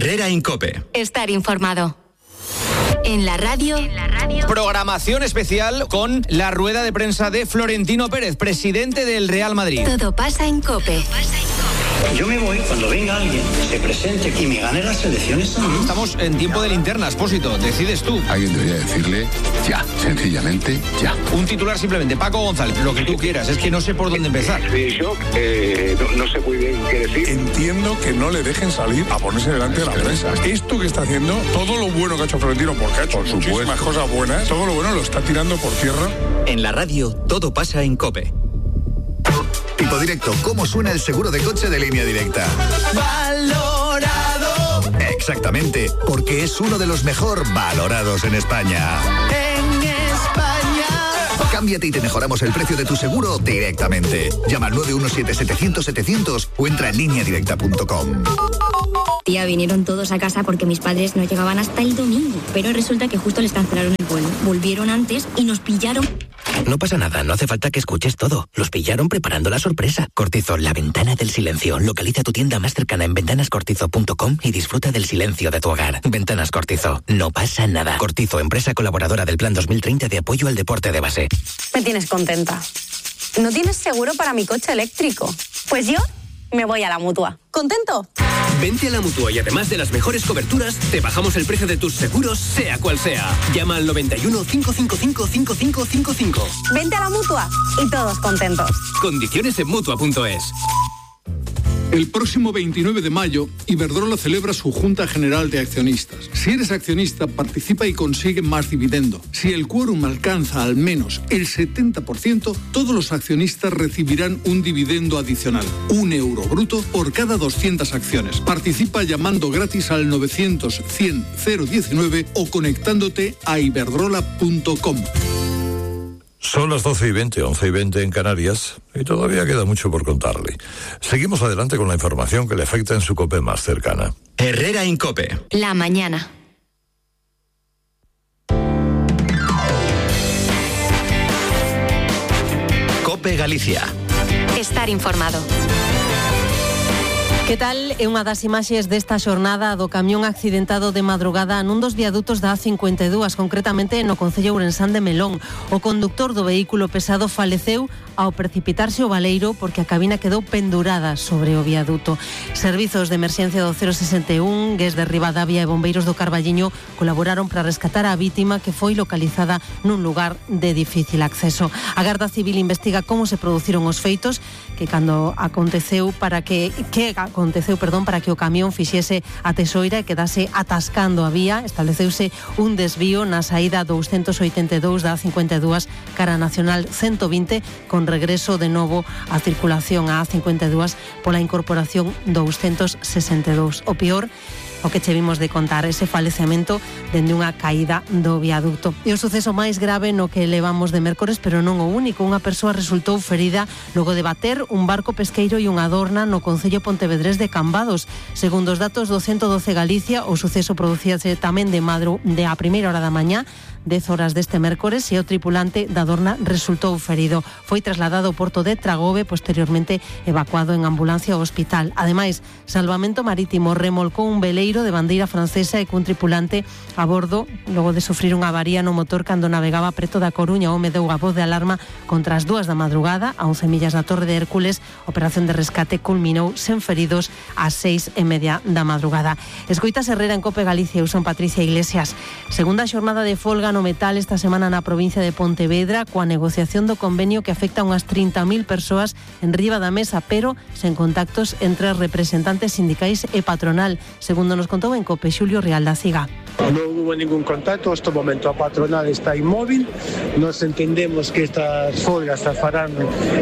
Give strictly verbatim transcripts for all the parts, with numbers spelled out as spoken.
Herrera en COPE. Estar informado. En la radio. En la radio. Programación especial con la rueda de prensa de Florentino Pérez, presidente del Real Madrid. Todo pasa en COPE. Todo pasa en COPE. Yo me voy cuando venga alguien, se presente y me gane las elecciones. Estamos en tiempo de linterna, Expósito. Decides tú. Alguien debería decirle ya, sencillamente ya. Un titular simplemente. Paco González, lo que tú quieras. Es que no sé por dónde empezar. De shock, eh, no, no sé muy bien qué decir. Entiendo que no le dejen salir a ponerse delante de la prensa. Esto que está haciendo, todo lo bueno que ha hecho Florentino, porque ha hecho por muchísimas cosas buenas, todo lo bueno lo está tirando por tierra. En la radio, todo pasa en COPE. Tipo directo, ¿cómo suena el seguro de coche de Línea Directa? Valorado. Exactamente, porque es uno de los mejor valorados en España. En España. Cámbiate y te mejoramos el precio de tu seguro directamente. Llama al nueve uno siete setecientos setecientos o entra en línea directa punto com. Tía, vinieron todos a casa porque mis padres no llegaban hasta el domingo, pero resulta que justo les cancelaron el vuelo. Volvieron antes y nos pillaron. No pasa nada, no hace falta que escuches todo. Los pillaron preparando la sorpresa. Cortizo, la ventana del silencio. Localiza tu tienda más cercana en ventanas cortizo punto com y disfruta del silencio de tu hogar. Ventanas Cortizo, no pasa nada. Cortizo, empresa colaboradora del Plan dos mil treinta de apoyo al deporte de base. Me tienes contenta. ¿No tienes seguro para mi coche eléctrico? Pues yo me voy a la Mutua. ¿Contento? Vente a la Mutua y además de las mejores coberturas, te bajamos el precio de tus seguros, sea cual sea. Llama al noventa y uno, cinco cinco cinco, cinco cinco cinco cinco. Vente a la Mutua y todos contentos. Condiciones en Mutua punto es. El próximo veintinueve de mayo, Iberdrola celebra su Junta General de Accionistas. Si eres accionista, participa y consigue más dividendo. Si el quórum alcanza al menos el setenta por ciento, todos los accionistas recibirán un dividendo adicional, un euro bruto por cada doscientas acciones. Participa llamando gratis al novecientos, cien, cero diecinueve o conectándote a iberdrola punto com. Son las doce y veinte, once y veinte en Canarias, y todavía queda mucho por contarle. Seguimos adelante con la información que le afecta en su COPE más cercana. Herrera en COPE. La mañana. COPE Galicia. Estar informado. Que tal? É unha das imaxes desta xornada do camión accidentado de madrugada nun dos viadutos da A cincuenta e dúas, concretamente no concello ourensán de Melón. O conductor do vehículo pesado faleceu ao precipitarse o baleiro porque a cabina quedou pendurada sobre o viaduto. Servizos de emerxencia do cero sesenta e un, Gués de Ribadavia e bombeiros do Carballiño colaboraron para rescatar a vítima que foi localizada nun lugar de difícil acceso. A Garda Civil investiga como se produciron os feitos que cando aconteceu para que que aconteceu, perdón, para que o camión fixese a tesoira e quedase atascando a vía. Estableceuse un desvío na saída doscientos oitenta e dous da A cincuenta e dúas cara nacional ciento vinte con regreso de novo a circulación a A cincuenta e dúas pola incorporación doscientos sesenta e dous. O peor o que che vimos de contar, ese falecemento dende unha caída do viaducto. E o suceso máis grave no que levamos de mércores, pero non o único. Unha persoa resultou ferida logo de bater un barco pesqueiro e unha adorna no concello pontevedrés de Cambados. Segundo os datos do ciento doce Galicia, o suceso producíase tamén de madru de a primeira hora da mañá, dez horas deste mércores, e o tripulante da adorna resultou ferido. Foi trasladado ao porto de Tragobe, posteriormente evacuado en ambulancia ao hospital. Ademais, Salvamento Marítimo remolcou un veleiro de bandeira francesa e cun tripulante a bordo logo de sufrir unha avaría no motor cando navegaba preto da Coruña. O home deu a voz de alarma contra as dúas da madrugada a once millas da Torre de Hércules. A operación de rescate culminou sen feridos ás seis e media da madrugada. Escoitas Herrera en COPE Galicia. Eu son Patricia Iglesias. Segunda xornada de folga no metal esta semana na provincia de Pontevedra, coa negociación do convenio que afecta a unhas trinta mil persoas en riba da mesa, pero sen contactos entre representantes sindicais e patronal, segundo nos contou en COPE Xulio Real da Ciga. No hubo ningún contacto, este momento a patronal está inmóvil, nos entendemos que estas folgas as farán,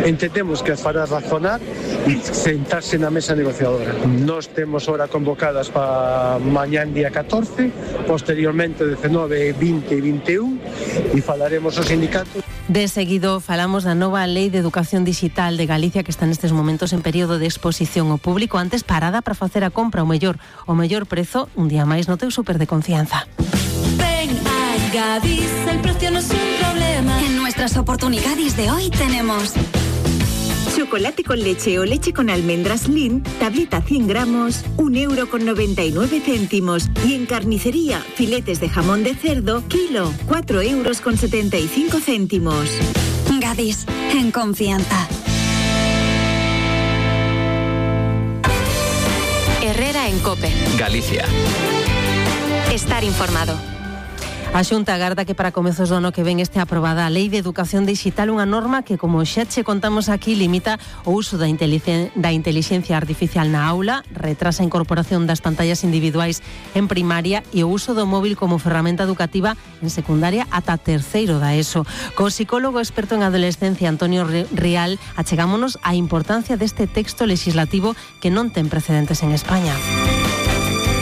entendemos que as fará razonar e sentarse na mesa negociadora. Nos temos hora convocadas para mañán día catorce, posteriormente dezenove, vinte e vinte e un, e falaremos aos sindicatos. De seguido falamos da nova Lei de Educación Digital de Galicia que está nestes momentos en período de exposición ao público. Antes, parada para facer a compra o mellor, o mellor prezo, un día máis no teu súper de confianza. Ven a Gadis, el precio no es un problema. En nuestras oportunidades de hoy tenemos chocolate con leche o leche con almendras Lin, tableta cien gramos, un euro con noventa y nueve céntimos. Y en carnicería, filetes de jamón de cerdo, kilo, cuatro euros con setenta y cinco céntimos. Gadis, en confianza. Herrera en COPE. Galicia. Estar informado. A Xunta agarda que para comezos do ano que ven este aprobada a Lei de Educación Digital, unha norma que, como xa che contamos aquí, limita o uso da, inteligen- da inteligencia artificial na aula, retrasa a incorporación das pantallas individuais en primaria e o uso do móvil como ferramenta educativa en secundaria ata terceiro da ESO. Co psicólogo experto en adolescencia Antonio Rial achegámonos á importancia deste texto legislativo que non ten precedentes en España.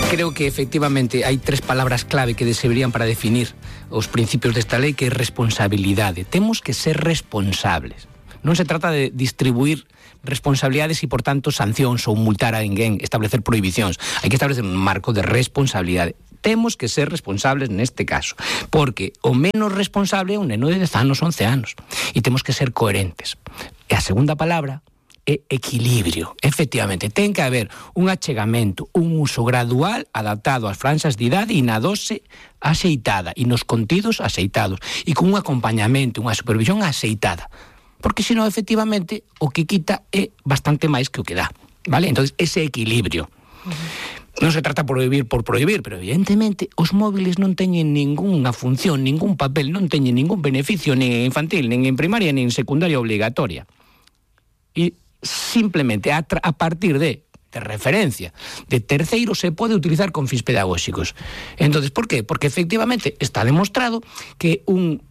Creo que efectivamente hai tres palabras clave que servirían para definir os principios desta lei, que é responsabilidade. Temos que ser responsables. Non se trata de distribuir responsabilidades e, por tanto, sancións ou multar a ninguén, establecer prohibicións. Hai que establecer un marco de responsabilidade. Temos que ser responsables neste caso, porque o menos responsable é un neno de dez anos, once anos, e temos que ser coherentes. E a segunda palabra é equilibrio. Efectivamente, ten que haber un achegamento, un uso gradual adaptado ás franxas de idade e na dose axeitada e nos contidos axeitados e con un acompañamento, unha supervisión axeitada. Porque senón, efectivamente, o que quita é bastante máis que o que dá, vale? Entonces, ese equilibrio. Uh-huh. Non se trata por prohibir por prohibir, pero evidentemente os móviles non teñen ningunha función, ningún papel, non teñen ningún beneficio nin en infantil, nin en primaria, nin en secundaria obligatoria. E simplemente a, tra- a partir de, de referencia de terceiro se pode utilizar con fins pedagóxicos. Entonces, por qué? Porque efectivamente está demostrado que un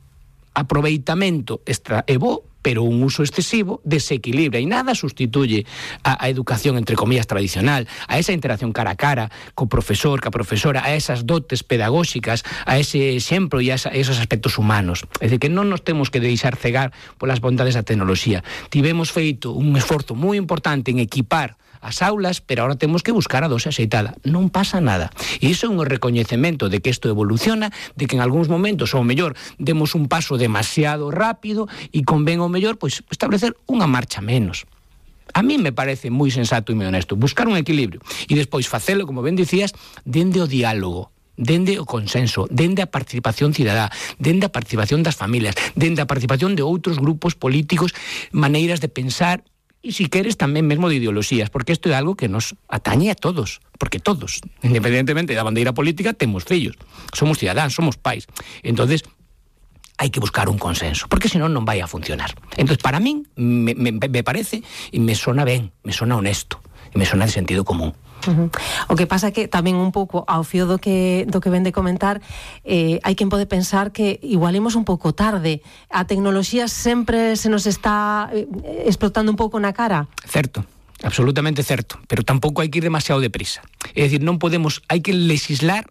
aproveitamento extra é bo, pero un uso excesivo desequilibra e nada sustituye a, a educación, entre comillas, tradicional, a esa interacción cara a cara co profesor, ca profesora, a esas dotes pedagóxicas, a ese exemplo e a, esa, a esos aspectos humanos. É dicir, que non nos temos que deixar cegar polas bondades da tecnoloxía. Tivemos feito un esforzo moi importante en equipar as aulas, pero ahora temos que buscar a dose axeitada. Non pasa nada. E iso é un recoñecemento de que isto evoluciona, de que en algúns momentos, ou mellor, demos un paso demasiado rápido e convén o mellor pois establecer unha marcha menos. A mí me parece moi sensato e moi honesto buscar un equilibrio e despois facelo, como ben dicías, dende o diálogo, dende o consenso, dende a participación cidadá, dende a participación das familias, dende a participación de outros grupos políticos, maneiras de pensar e, si queres, tamén mesmo de ideoloxías, porque isto é algo que nos atañe a todos, porque todos, independentemente da bandeira política, temos fillos, somos cidadáns, somos pais. Entonces, hai que buscar un consenso, porque senón non vai a funcionar. Entonces, para min, me, me, me parece, e me sona ben, me sona honesto, e me sona de sentido común. Uh-huh. O que pasa que tamén un pouco ao fío do que do que ven de comentar, eh, hai quen pode pensar que igual imos un pouco tarde. A tecnoloxía sempre se nos está eh, explotando un pouco na cara. Certo, absolutamente certo, pero tampouco hai que ir demasiado deprisa. É dicir, non podemos, hai que legislar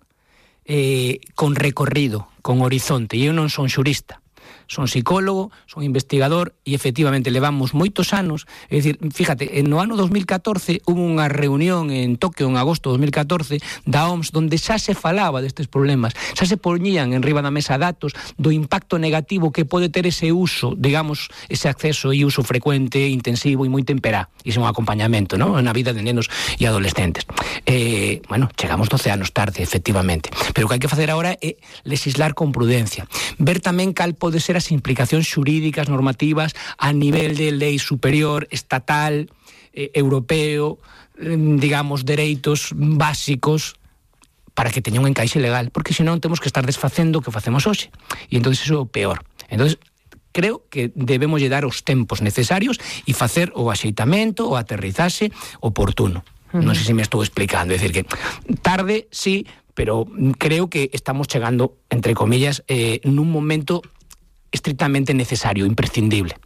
eh, con recorrido, con horizonte, e eu non son xurista. Son psicólogo, son investigador e efectivamente levamos moitos anos, é dicir, fíjate, no ano dos mil catorce hubo unha reunión en Tokio en agosto de dos mil catorce da O M S donde xa se falaba destes problemas, xa se poñían en riba da mesa datos do impacto negativo que pode ter ese uso, digamos, ese acceso e uso frecuente, intensivo e moi temperá, e ese é un acompañamento, ¿no?, na vida de nenos e adolescentes. Eh, bueno, chegamos doce anos tarde, efectivamente, pero o que hai que facer agora é legislar con prudencia, ver tamén cal pode ser as implicacións xurídicas, normativas a nivel de lei superior, estatal, eh, europeo, eh, digamos, dereitos básicos para que teña un encaixe legal, porque senón temos que estar desfacendo o que facemos hoxe, e entonces iso é o peor. Entonces creo que debemos lle dar os tempos necesarios e facer o axeitamento, o aterrizaxe oportuno. Uh-huh. Non sei se me estou explicando, é dicir que tarde, sí, pero creo que estamos chegando, entre comillas, eh, nun momento estrictamente necesario, imprescindible.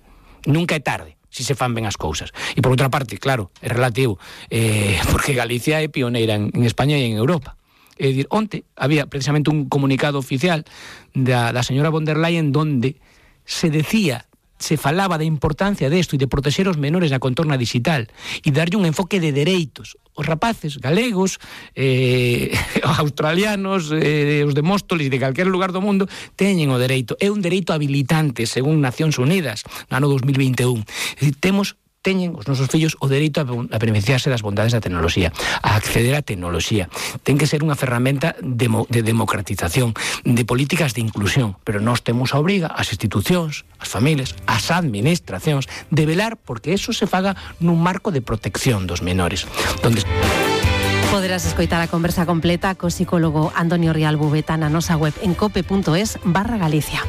Nunca é tarde, si se fan ben as cousas. E por outra parte, claro, é relativo, eh, porque Galicia é pioneira en, en España e en Europa. É dicir, onte había precisamente un comunicado oficial da, da señora von der Leyen donde se decía, se falaba da importancia desto e de protexer os menores na contorna digital e darlle un enfoque de dereitos. Os rapaces galegos, eh, australianos, eh, os de Móstoles e de calquer lugar do mundo teñen o dereito. É un dereito habilitante, según Nacións Unidas, no ano dos mil vinte e un. É dicir, temos teñen os nosos fillos o dereito a, a beneficiarse das bondades da tecnoloxía, a acceder á tecnoloxía. Ten que ser unha ferramenta de, de democratización, de políticas de inclusión, pero nós temos a obriga, as institucións, as familias, as administracións, de velar porque eso se faga nun marco de protección dos menores. Donde... Poderás escoitar a conversa completa co psicólogo Antonio Rial Bubeta na nosa web en cope.es barra Galicia.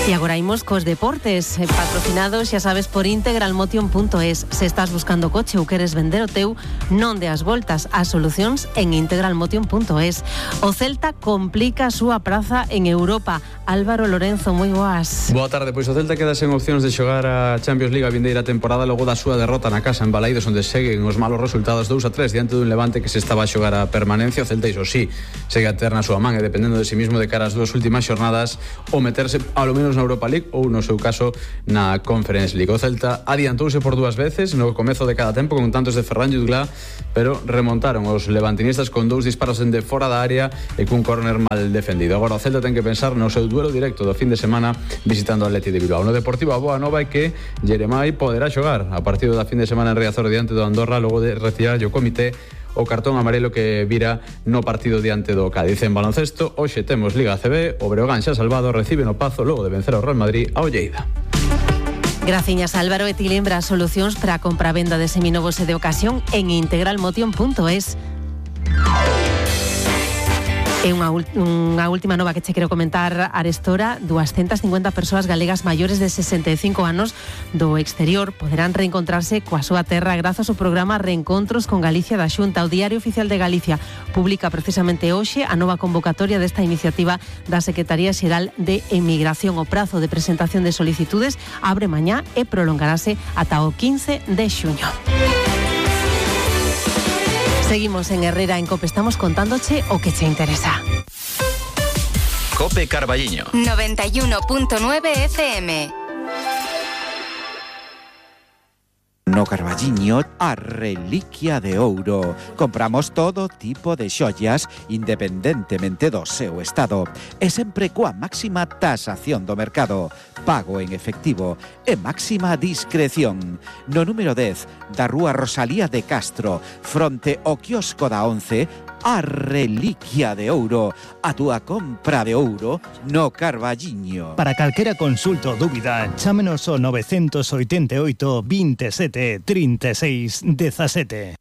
E agora imos cos deportes, patrocinados, xa sabes, por integralmotion punto es. Se estás buscando coche ou queres vender o teu, non deas voltas, as solucións en integralmotion punto es. O Celta complica a súa praza en Europa. Álvaro Lorenzo, moi boas. Boa tarde, pois o Celta queda sen opcións de xogar a Champions League a vindeira temporada logo da súa derrota na casa en Balaidos, onde seguen os malos resultados dous a tres diante dun Levante que se estaba a xogar a permanencia. O Celta, iso sí, segue a ter na súa man e dependendo de si mismo de cara ás dúas últimas xornadas o meterse ao menos na Europa League ou no seu caso na Conference League. O Celta adiantouse por dúas veces no comezo de cada tempo con tantos de Ferran Jutgla, pero remontaron os levantinistas con dous disparos dende fora da área e cun córner mal defendido. Agora o Celta ten que pensar no seu duelo directo do fin de semana visitando o Atleti de Bilbao. No Deportivo, a boa nova é que Jeremai poderá xogar a partido da fin de semana en Riazor diante do Andorra logo de retirar o comité o cartón amarelo que vira no partido diante do Cádiz. En baloncesto, hoxe temos Liga A C B, o Breogán xa salvado, recibe no Pazo logo de vencer ao Real Madrid ao Lleida. Graciñas, Álvaro, e ti lembra solucións para a compra-venda de seminovos e de ocasión en integralmotion punto es. E unha, unha última nova que che quero comentar, arestora, doscientas cincuenta persoas galegas maiores de sesenta e cinco anos do exterior poderán reencontrarse coa súa terra grazas ao programa Reencontros con Galicia da Xunta. O Diario Oficial de Galicia publica precisamente hoxe a nova convocatoria desta iniciativa da Secretaría Xeral de Emigración. O prazo de presentación de solicitudes abre mañá e prolongarase ata o quince de xuño. Seguimos en Herrera en Cope, estamos contándoche o que che interesa. Cope Carballiño noventa y uno punto nueve F M. No Carballiño, a reliquia de ouro. Compramos todo tipo de xoias independentemente do seu estado e sempre coa máxima tasación do mercado, pago en efectivo e máxima discreción. No número dez da Rúa Rosalía de Castro, fronte ao quiosco da once, a reliquia de ouro, a túa compra de ouro no Carballiño. Para calquera consulta ou dúbida, chámenos ao nove oito oito, veintisiete, trinta e seis, dezasete.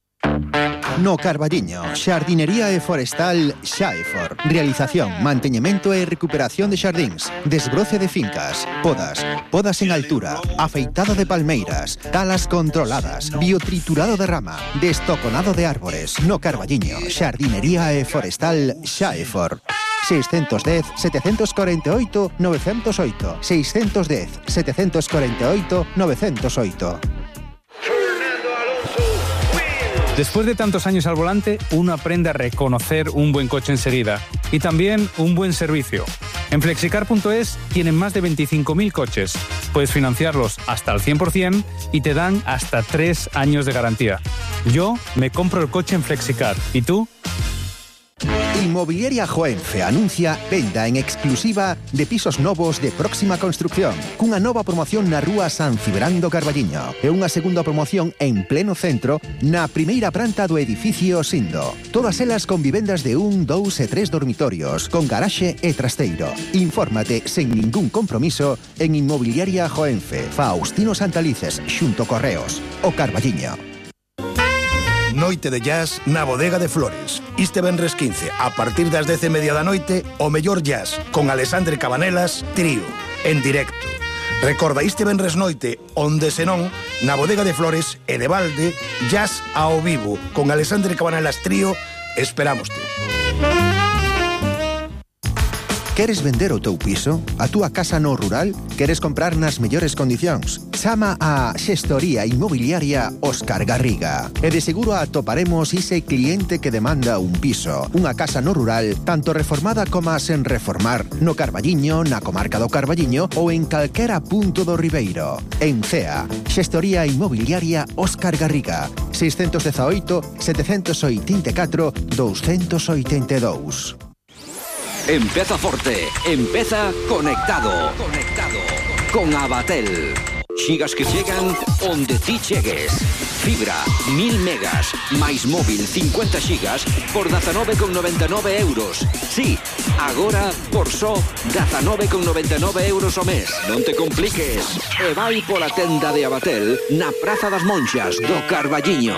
No Carballiño, xardinería e forestal Xaefor. Realización, manteñemento e recuperación de xardíns, desbroce de fincas, podas, podas en altura, afeitada de palmeiras, talas controladas, biotriturado de rama, destoconado de árbores. No Carballiño, xardinería e forestal Xaefor. seiscentos dez, setecientos cuarenta y ocho, novecientos ocho. seiscentos dez, setecientos cuarenta y ocho, novecientos ocho. Después de tantos años al volante, uno aprende a reconocer un buen coche enseguida y también un buen servicio. En flexicar punto es tienen más de veinticinco mil coches. Puedes financiarlos hasta al cien por ciento y te dan hasta tres años de garantía. Yo me compro el coche en Flexicar. ¿Y tú? Inmobiliaria Joenfe anuncia venda en exclusiva de pisos novos de próxima construcción, cunha nova promoción na rúa San Cibrán do Carballiño e unha segunda promoción en pleno centro na primeira planta do edificio Sindo. Todas elas con vivendas de un, dous e tres dormitorios, con garaxe e trasteiro. Infórmate sen ningún compromiso en Inmobiliaria Joenfe, Faustino Santalices, xunto Correos, o Carballiño. Noite de jazz na Bodega de Flores. Este venres quince, a partir das dez e media da noite, o mellor jazz, con Alexandre Cabanelas, trío, en directo. Recorda, este venres noite, onde senón, na Bodega de Flores e de balde, jazz ao vivo, con Alexandre Cabanelas trío, esperámoste. Queres vender o teu piso? A túa casa no rural? Queres comprar nas mellores condicións? Chama a Xestoría Inmobiliaria Óscar Garriga. E de seguro atoparemos ese cliente que demanda un piso, unha casa no rural, tanto reformada como sen reformar, no Carballiño, na comarca do Carballiño ou en calquera punto do Ribeiro. En Cea, Xestoría Inmobiliaria Óscar Garriga, seiscentos dezaoito, setecentos oitenta e catro, douscentos oitenta e dous. Empeza forte, empeza conectado. Conectado. con Abatel. Xigas que chegan onde ti chegues. Fibra, mil megas, máis móvil cincuenta xigas por dezanove con noventa e nove euros. Sí, agora por só dezanove con noventa e nove euros o mes. Non te compliques. E vai pola tenda de Abatel na Praza das Monxas do Carballiño.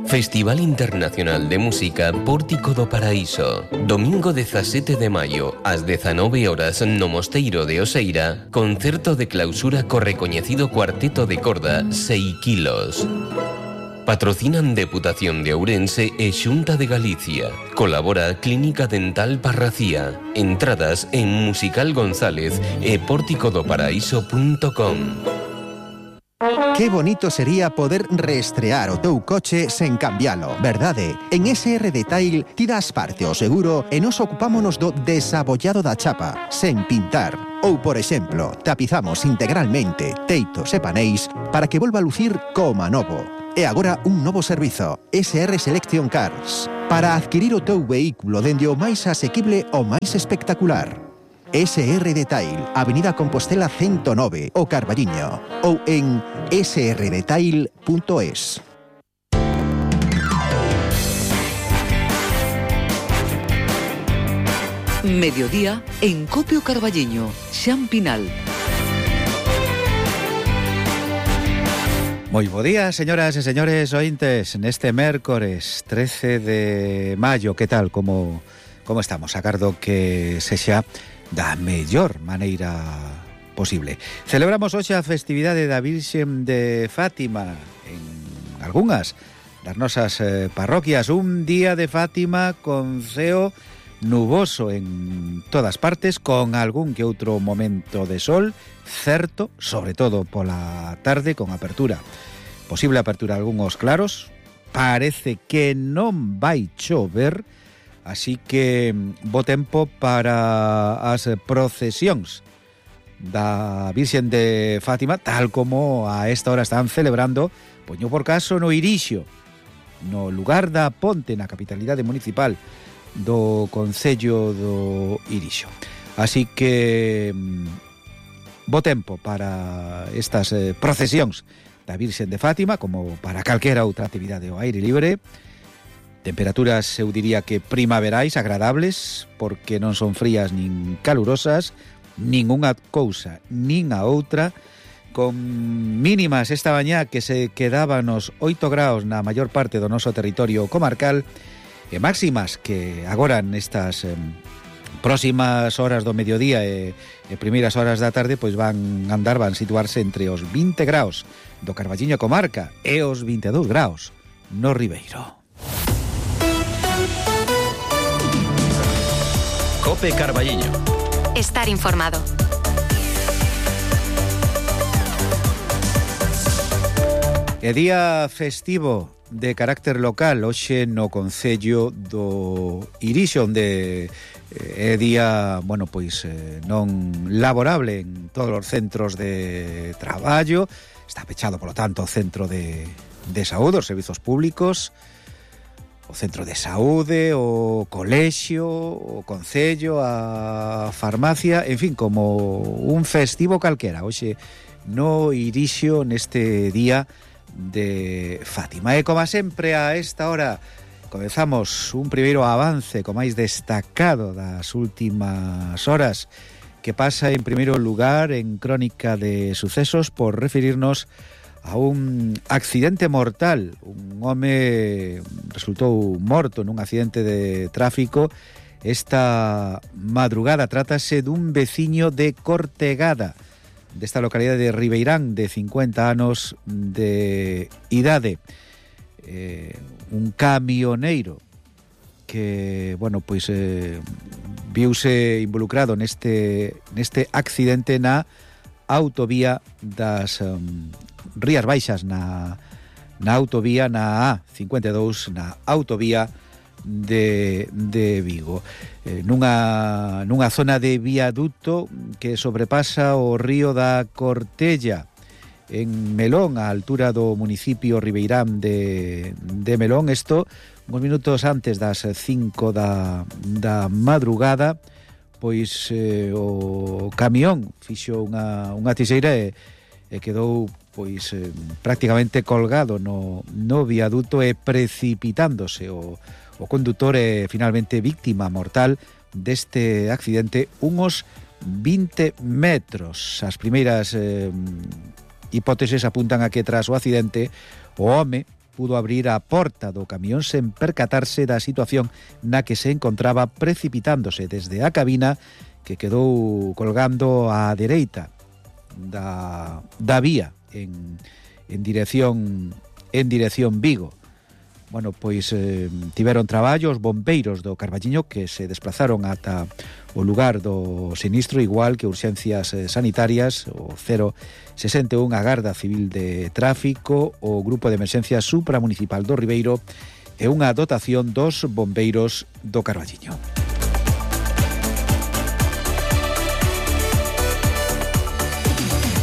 Festival Internacional de Música Pórtico do Paraíso. Domingo dezasete de maio, ás dezanove horas no Mosteiro de Oseira, concerto de clausura co recoñecido cuarteto de corda seis kilos. Patrocinan Deputación de Ourense e Xunta de Galicia. Colabora Clínica Dental Parracía. Entradas en Musical González e pórtico do paraíso punto com. Que bonito sería poder reestrear o teu coche sen cambialo, verdade? En S R Detail ti das parte ao seguro e nos ocupámonos do desabollado da chapa, sen pintar. Ou, por exemplo, tapizamos integralmente teitos e paneis para que volva a lucir como novo. E agora un novo servizo, S R Selection Cars, para adquirir o teu vehículo dende o máis asequible ao máis espectacular. S R Detail, Avenida Compostela ciento nove, o Carballiño, ou en s r detail punto es. Mediodía en Copio Carballiño, Xan Pinal. Moi bo día, señoras e señores ointes, neste mércores trece de maio. Que tal, como, como estamos? Agardo que sexa da mellor maneira posible. Celebramos hoxe a festividade da Virxen de Fátima en algunhas das nosas eh, parroquias. Un día de Fátima con ceo nuboso en todas partes, con algún que outro momento de sol, certo, sobre todo pola tarde, con apertura. Posible apertura de algúns claros. Parece que non vai chover, así que bo tempo para as procesións da Virxen de Fátima, tal como a esta hora están celebrando, poño por caso, no Irixo, no lugar da Ponte, na capitalidade municipal do Concello do Irixo. Así que bo tempo para estas eh, procesións da Virxen de Fátima, como para calquera outra actividade ao aire libre. Temperaturas, eu diría que primaverais, agradables, porque non son frías nin calurosas, nin unha cousa, nin a outra, con mínimas esta mañá que se quedaban nos oito graus na maior parte do noso territorio comarcal, e máximas que agora nestas eh, próximas horas do mediodía e, e primeiras horas da tarde pois van andar, van situarse entre os vinte graus do Carballiño comarca e os vinte e dous graus no Ribeiro. Cope Carballiño. Estar informado. É día festivo de carácter local hoxe no Concello do Irixo, onde é día, bueno, pois non laborable en todos os centros de traballo. Está pechado, polo tanto, o centro de, de saúde, os servizos públicos, o centro de saúde, o colexio, o concello, a farmacia, en fin, como un festivo calquera. Hoxe no Irixo neste día de Fátima. E como sempre a esta hora comezamos un primeiro avance co máis destacado das últimas horas, que pasa en primeiro lugar en Crónica de Sucesos por referirnos a un accidente mortal. Un home resultou morto nun accidente de tráfico esta madrugada. Trátase dun veciño de Cortegada, desta localidade de Ribeirán, de cincuenta anos de idade. Eh, un camioneiro que, bueno, pois eh, viuse involucrado neste neste accidente na autovía das um, Rías Baixas, na, na autovía na A cincuenta e dous, na autovía de, de Vigo, eh, nunha, nunha zona de viaduto que sobrepasa o río da Cortella, en Melón, a altura do municipio Ribeirán de, de Melón. Isto uns minutos antes das cinco da, da madrugada, pois eh, o camión fixo unha, unha tixeira e, e quedou pois eh, prácticamente colgado no, no viaduto e precipitándose o, o condutor é finalmente víctima mortal deste accidente unhos vinte metros. As primeiras eh, hipóteses apuntan a que tras o accidente o home pudo abrir a porta do camión sen percatarse da situación na que se encontraba, precipitándose desde a cabina que quedou colgando á dereita da, da vía en, en dirección en dirección Vigo. Bueno, pois eh, tiveron traballo os bombeiros do Carballiño que se desplazaron ata o lugar do sinistro, igual que urxencias eh, sanitarias, o cero sesenta e un, a Garda Civil de Tráfico, o Grupo de Emerxencia Supramunicipal do Ribeiro e unha dotación dos bombeiros do Carballiño.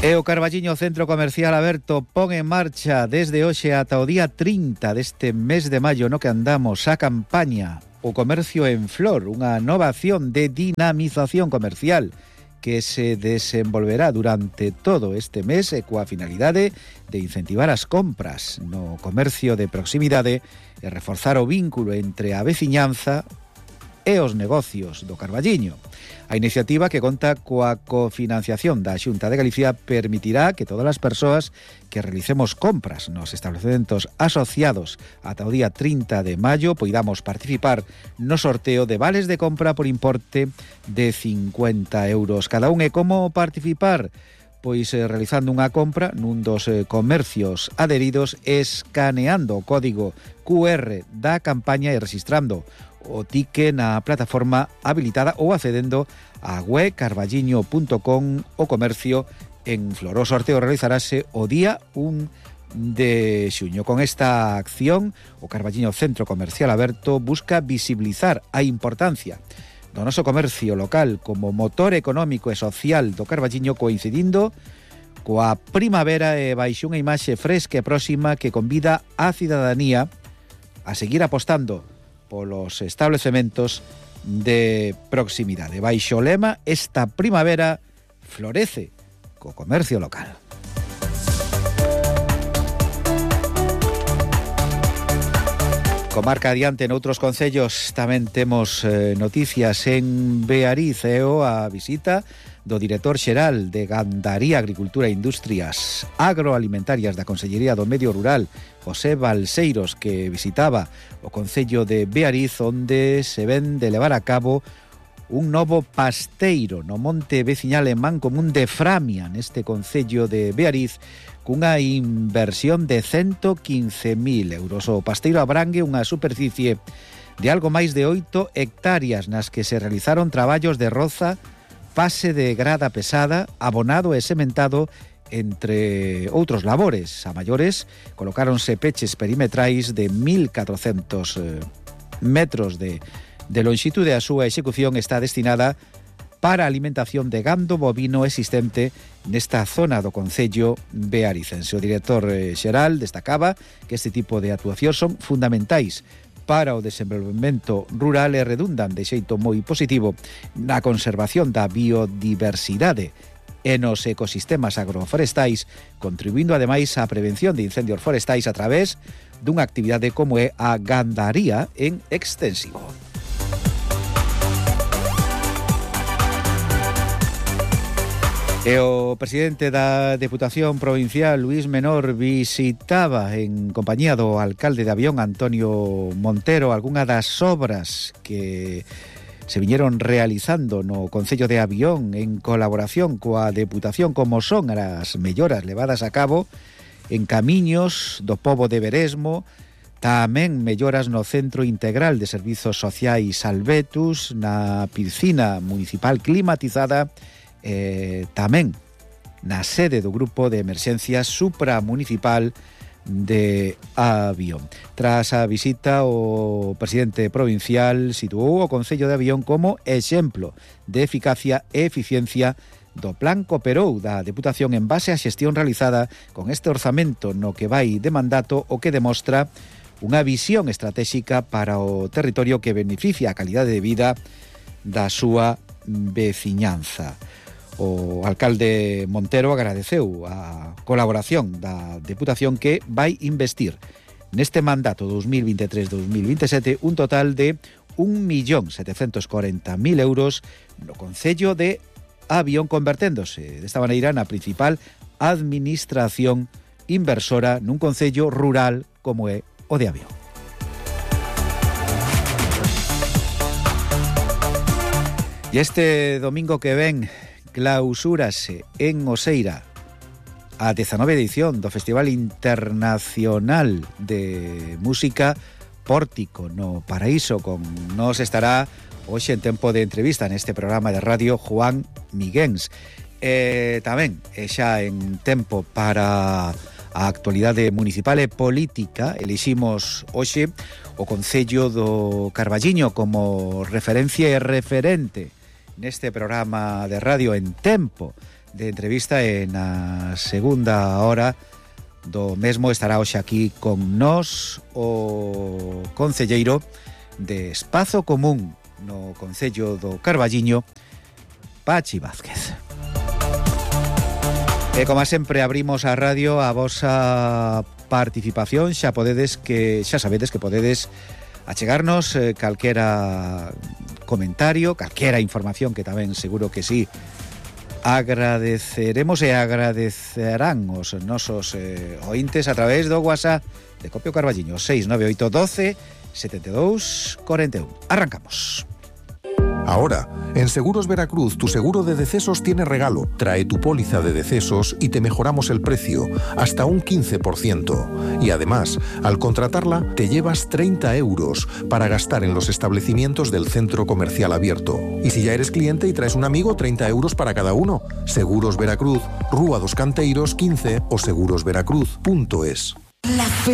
E o Carballiño Centro Comercial aberto pon en marcha desde hoxe ata o día trinta deste mes de maio no que andamos a campaña O Comercio en Flor, unha nova acción de dinamización comercial que se desenvolverá durante todo este mes e coa finalidade de incentivar as compras no comercio de proximidade e reforzar o vínculo entre a veciñanza e os negocios do Carballiño. A iniciativa, que conta coa cofinanciación da Xunta de Galicia, permitirá que todas as persoas que realicemos compras nos establecementos asociados ata o día trinta de maio poidamos participar no sorteo de vales de compra por importe de cincuenta euros cada un. E como participar? Pois eh, realizando unha compra nun dos eh, comercios adheridos, escaneando o código Q R da campaña e registrando o ticket na plataforma habilitada ou accedendo a web carballiño punto com o comercio en Flor. O sorteo realizarase o día un de xuño. Con esta acción, o Carballiño Centro Comercial Aberto busca visibilizar a importancia do noso comercio local como motor económico e social do Carballiño, coincidindo coa primavera e baixo unha imaxe fresca e próxima que convida a cidadanía a seguir apostando polos establecementos de proximidade. Baixo o lema, esta primavera florece co comercio local. Comarca adiante noutros concellos tamén temos eh, noticias en Beariz, e o a visita do director xeral de Gandaría, Agricultura e Industrias Agroalimentarias da Consellería do Medio Rural, José Balseiros, que visitaba o concello de Beariz, onde se ven de levar a cabo un novo pasteiro no monte veciñal en Mancomún de Framia, neste concello de Beariz, cunha inversión de ciento quince mil euros. O pasteiro abrangue unha superficie de algo máis de oito hectáreas nas que se realizaron traballos de roza, pase de grada pesada, abonado e sementado, entre outros labores. A maiores, colocáronse peches perimetrais de mil catrocentos eh, metros de, de longitude. A súa execución está destinada para a alimentación de gando bovino existente nesta zona do concello bearicense. O director eh, xeral destacaba que este tipo de actuacións son fundamentais para o desenvolvemento rural e redundan de xeito moi positivo na conservación da biodiversidade e nos ecosistemas agroforestais, contribuindo ademais á prevención de incendios forestais a través dunha actividade como é a gandaría en extensivo. E o presidente da Deputación Provincial, Luís Menor, visitaba en compañía do alcalde de Avión, Antonio Montero, algunha das obras que se viñeron realizando no concello de Avión en colaboración coa Deputación, como son as melloras levadas a cabo en camiños do pobo de Beresmo, tamén melloras no Centro Integral de Servizos Sociais Albetus, na piscina municipal climatizada, Eh, tamén na sede do Grupo de Emerxencia Supramunicipal de Avión. Tras a visita, o presidente provincial situou o concello de Avión como exemplo de eficacia e eficiencia do Plan Cooperou da Deputación en base á xestión realizada con este orzamento no que vai de mandato, o que demostra unha visión estratégica para o territorio que beneficia a calidade de vida da súa veciñanza. O alcalde Montero agradeceu a colaboración da Deputación que vai investir neste mandato dos mil veintitrés dos mil veintisiete un total de un millón setecientos cuarenta mil euros no concello de Avión, converténdose desta maneira na principal administración inversora nun concello rural como é o de Avión. E este domingo que ven clausúrase en Oseira a dezanove edición do Festival Internacional de Música Pórtico no Paraíso. Con nos estará hoxe en tempo de entrevista neste programa de radio Juan Miguens. E tamén e xa en tempo para a actualidade municipal e política, eliximos hoxe o Concello do Carballiño como referencia e referente neste programa de radio en tempo de entrevista. E na segunda hora do mesmo estará hoxe aquí con nós o concelleiro de Espazo Común no Concello do Carballiño, Pachi Vázquez. E como sempre abrimos a radio a vosa participación. Xa podedes que xa sabedes que podedes achegarnos eh, calquera comentario, calquera información, que tamén seguro que sí agradeceremos e agradecerán os nosos eh, ointes a través do WhatsApp de Copio Carballiño seis nove oito doce setenta e dous cuarenta e un. Arrancamos. Ahora, en Seguros Veracruz, tu seguro de decesos tiene regalo. Trae tu póliza de decesos y te mejoramos el precio, hasta un quince por ciento. Y además, al contratarla, te llevas treinta euros para gastar en los establecimientos del centro comercial abierto. Y si ya eres cliente y traes un amigo, treinta euros para cada uno. Seguros Veracruz, Rúa dos Canteiros quince o segurosveracruz punto es. La